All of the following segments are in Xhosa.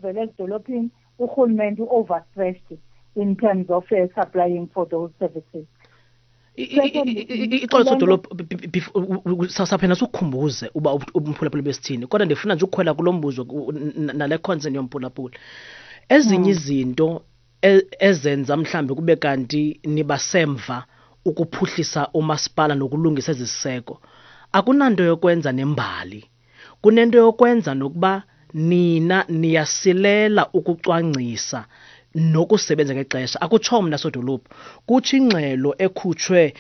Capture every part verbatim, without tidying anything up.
okuvela ezidolophini, urhulumente u-overstretched in terms of uh, supplying for those services. Ixolo, sodolophu, saphena sikukhumbuze uba umphulaphuli besithini, kodwa ndifuna nje ukukhwela kulo mbuzo nale concern yomphulaphuli. Ezinye izinto ezenza mhlambi kube kanti nibasemva ukuphuhlisa umasipala nokulungisa eziseko akunanto yokwenza nembali, kunento yokwenza nokuba nina niyasilela ukucwangcisa nokusebenza ngexesha. Akutsho mna sodolophu, kutsho ingxelo ekhutshwe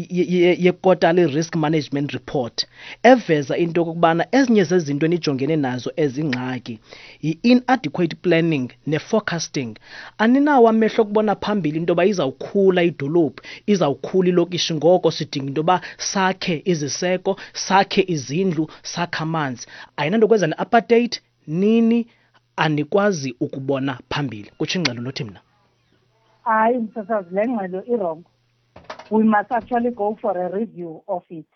ye-quarterly risk management report eveza into yokokubana ezinye zezinto enijongene nazo ezingxaki yi-inadequate planning ne-forecasting. Aninawo amehlo okubona phambili into yoba izawukhula idolophu, izawukhula ilokishi, ngoko sidinga into yoba sakhe iziseko, sakhe izindlu, sakhe amanzi. Ayinanto kwenza ne-apartheid, nini anikwazi ukubona phambili, kutsho ingxelo, nothi mna. Hayi msasazi, le ngxelo i-wrong. We must actually go for a review of it,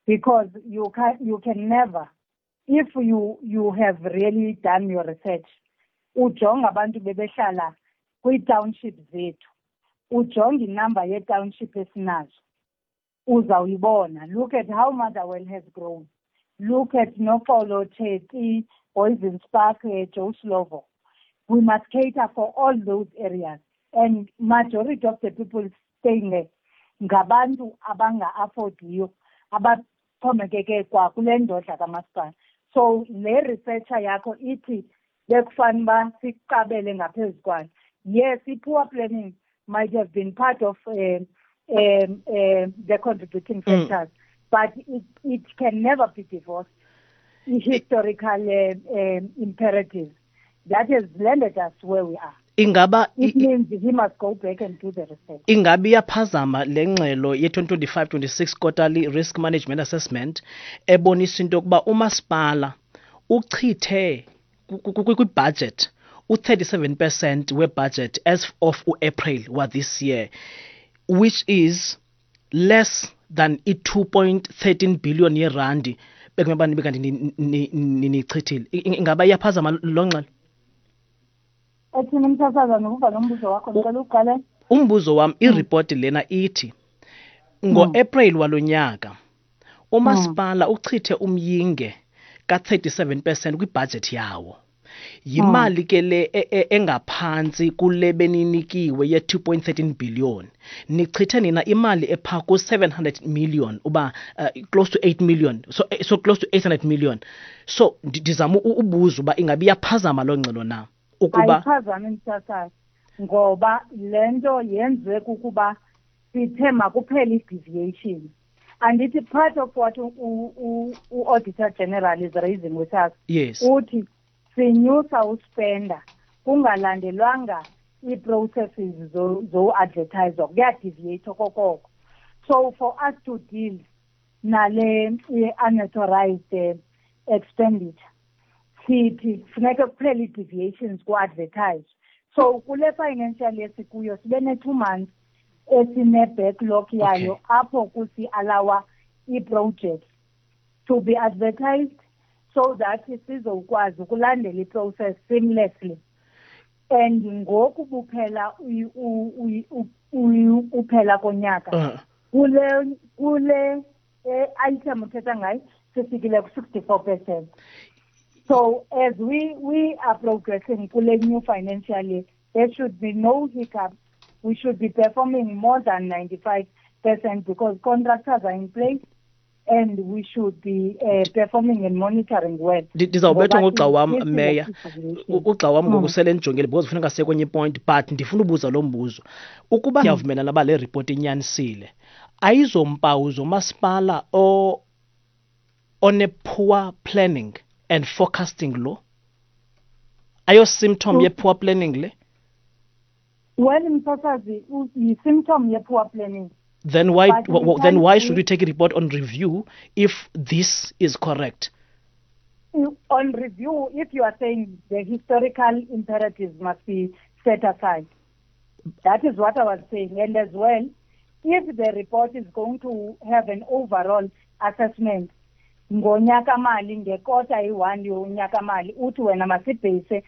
because you can, you can never, if you, you have really done your research, ujonga abantu bebehlala kwii-township zethu, ujonga inamba yee-township esinazo, uzawuyibona. Look at how Motherwell has grown. Look at Noxolo, Tsheti, Poison Spark, uh, Joe Slovo. We must cater for all those areas. And majority of the people staying there, ngabantu abanga-affordiyo, abaxhomekeke kwa kule ndodla kamasipala. So le researcher yakho ithi bekufanele uba siqabele ngaphezu kwayo. Yes, i-poor planning might have been part of uh, um, uh, the contributing factors, mm. but it, it can never be divorced. Historical uh, um, imperatives that has landed us where we are. Ingaba it means he must go back and do the research. Ingabe iyaphazama le ngxelo ye twenty twenty-five twenty-six quarterly risk management assessment ebonisa into yokuba umasipala uchithe kwi-budget u-thirty-seven percent we-budget as of u-April wa this year, which is less than i-two point thirteen billion yerandi bekumele nibe kanti nichithile. Ingaba iyaphazama lo ngxelo? Ethini msasaza, nokuva lo mbuzo wakho, ndicela uqale. Umbuzo wam, iripoti lena ithi ngo-April walonyaka umasipala uchithe umyinge ka-thirty-seven percent kwibhajethi yawo. Yimali ke le engaphantsi kule beninikiwe ye-two point thirteen billion. Nichithe nina imali epha ku-seven hundred million, uba uh, close to eight million, so, so close to eight hundred million. So ndizama ubuza uba ingabe iyaphazama loo ngxelo na? Ukuba ayiphazami msasazi, ngoba le nto yenziwe kukuba sithe makuphele i-deviation. Andithi part of what u-Auditor General is raising with us, yes, uthi sinyusa uspenda kungalandelwanga ii-processes zo-advertise, kuyadeviate okokoko. So for us to deal nale unauthorized expenditure, sithi funeka kuphele ii-deviations ku-advertise. So kule financial year sikuyo sibe ne-two months esine-backlog yayo, okay, apho kusi-allowa ii-projects to be advertised so that sizokwazi ukulandela i-process seamlessly. And ngoku buphela uphela konyaka, kule kule item uthetha ngayo sifikile ku-sixty-four percent. So as we, we are progressing kule new financial year, there should be no hiccups. We should be performing more than ninety-five percent because contractors are in place and we should be uh, performing and monitoring well. Ndizawubethwa ngugxa wam, Meya. Ugxa wam ngoku sele ndijongile because kufuneka siye kwenye point, but ndifuna ubuza lo mbuzo. Ukuba ndiyavumelana uba le report inyanisile, ayizompawu zomasipala o one-poor planning and forecasting lo? Ayo symptom ye-poor planning le? Well, msasazi, yi-symptom ye-poor planning. Then why then why should we take a report on review if this is correct? On review, if you are saying the historical imperatives must be set aside. That is what I was saying. And as well, if the report is going to have an overall assessment, ngonyaka mali, ngekota iyi-one yonyaka mali, uthi wena masibhase